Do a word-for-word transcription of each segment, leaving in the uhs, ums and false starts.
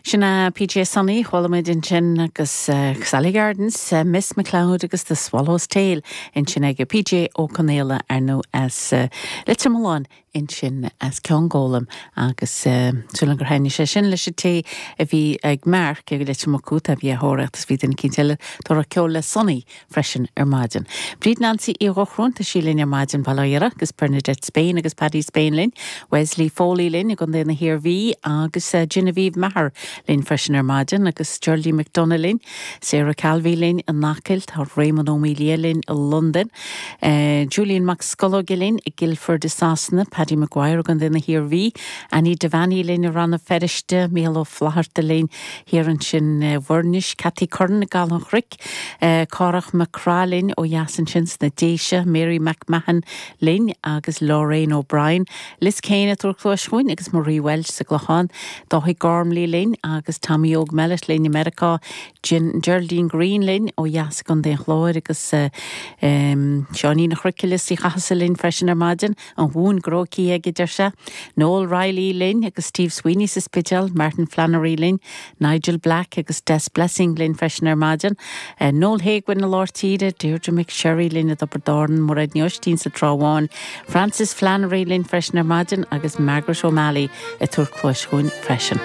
Sin é PJ Sonny chuala muid ansin agus Sally Gardens, Miss McLeod agus The Swallow's Tail ansin ag PJ Ó Conaola ar nó as Leitir Mealláin ansin as Ceann Gólaim agus súil gur thaitnigh sé sin leis an té a bhí ag Mark ag Leitir Mocuta a bhí a thóraíocht is bhí duine éicint eile ag ceol le Sonny freisin ar maidin. Bríd Nancy Uí Dhochróin tá sí linn ar maidin Baile agus Bernadette Spain agus Paddy Spain linn, Wesley Foley linn i gContae na hIarmhí agus Genevieve Maher linn freisin ar maidin agus Geraldine McDonough linn, Sarah Calvey linn in Acaill tá Raymond Ó Mília linn i London, uh, Julian Mac Scolóige linn i Guildford i Sasana, Paddy Maguire gContae na hIarmhí, Annie Devaney linn i Rann na Feirste, Mícheál Ó Flatharta linn thiar ansin uh, Bhuirnis, Cathy Curran Gal an Chric, uh, Cárach McCra linn ó dheas ansin sna Déise, Mary McMahon linn agus Lorraine O'Brien, Liz Kane ag tabhairt cluas chugainn agus Marie Welsh sa gClochán, Dáithí Gormley linn agus Tommy Óg Mellett linn i Meiriceá, Geraldine Green linn ó dheas Contae an Chláir agus uh, um, Seáinín Chruiciile sí chasa linn freisin ar maidin an bhún grócí ag deir sé. Noel Riley linn agus Steve Sweeney sa Spidéal, Martin Flannery linn, Nigel Black agus Des Blessing linn freisin ar maidin. Uh, Noel Haigwin na Lártíide, Deirdre McSherry linn a Doberdorn, Mairéad Ní Oistín sa Trá Bháin, Francis Flannery linn freisin ar maidin agus Margaret O'Malley ag tabhairt cluas chugainn freisin.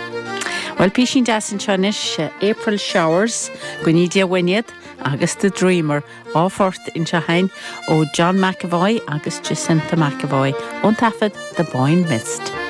Well písín deas anseo anois April Showers go ní bhainead agus The Dreamer dhá phort anseo ó John McAvoy agus Jacinta McAvoy ón taifead The Boyne Mist.